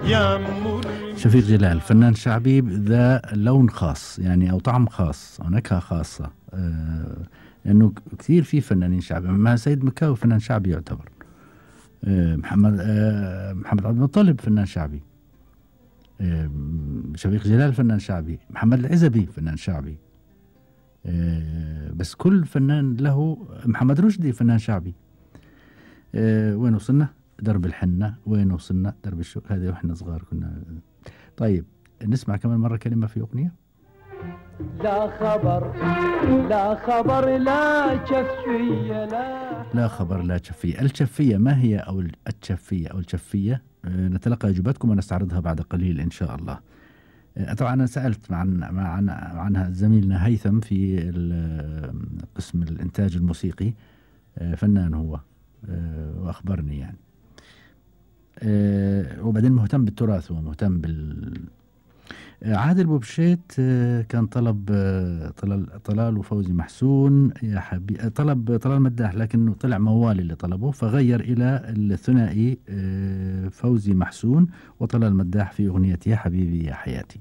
يا شفيق جلال فنان شعبي ذا لون خاص يعني أو طعم خاص أو نكهة خاصة، لأنه كثير في فنانين شعبي. مع سيد مكاوي فنان شعبي يعتبر، محمد عبد المطلب فنان شعبي، شفيق جلال فنان شعبي، محمد العزبي فنان شعبي، بس كل فنان له. محمد رشدي فنان شعبي. وين وصلنا؟ درب الحنة. وين وصلنا؟ درب الشوق. هذه واحنا صغار كنا. طيب نسمع كمان مرة كلمة في أغنية. لا خبر لا خبر لا شفية لا خبر لا شفية. الشفية ما هي أو الشفية أو الشفية؟ نتلقى إجاباتكم ونستعرضها بعد قليل إن شاء الله. طبعا أنا سألت عنها زميلنا هيثم في قسم الإنتاج الموسيقي، فنان هو، وأخبرني يعني. وبعدين مهتم بالتراث ومهتم عادل بوبشيت كان طلب طلال وفوزي محسون يا حبيبي، طلب طلال مداح لكنه طلع موالي اللي طلبه، فغير إلى الثنائي فوزي محسون وطلال مداح في أغنية يا حبيبي يا حياتي.